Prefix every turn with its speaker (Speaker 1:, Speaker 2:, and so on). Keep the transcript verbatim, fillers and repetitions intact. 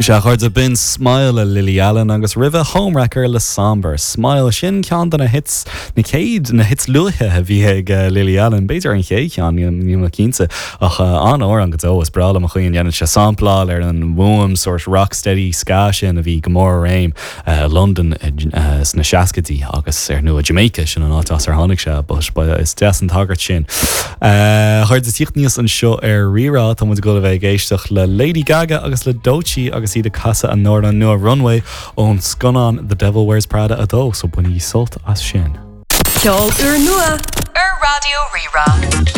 Speaker 1: Sea, a chairde, b'in Smile le Lily Allen agus roimhe Homewrecker le Sombr. Smile sin ceann de na hits na céad na hits luaithe a bhí ag uh, Lily Allen, b'fhéidir an chéad cheann níl mé cinnte ach uh, an-amhrán go deo is breá liom an chaoi a ndéanann sé sampláil ar an bhfuaim sort rocksteady ska sin a bhí go mór i réim uh, London uh, sna seascaidí agus ar ndóigh Jamaica sin an áit as ar tháinig sé but is deas an tagairt sin. Uh, Chuir tíocht níos anseo ar Rí-Rá tá muid ag dul a bheith ag éisteacht le Lady Gaga agus le Doechii agus iad ag casadh a n-amhrán nua Runway ón scannán The Devil Wears Prada a dó, so bainigí sult as sin.
Speaker 2: Ceol úrnua ar Raidió Rí-Rá.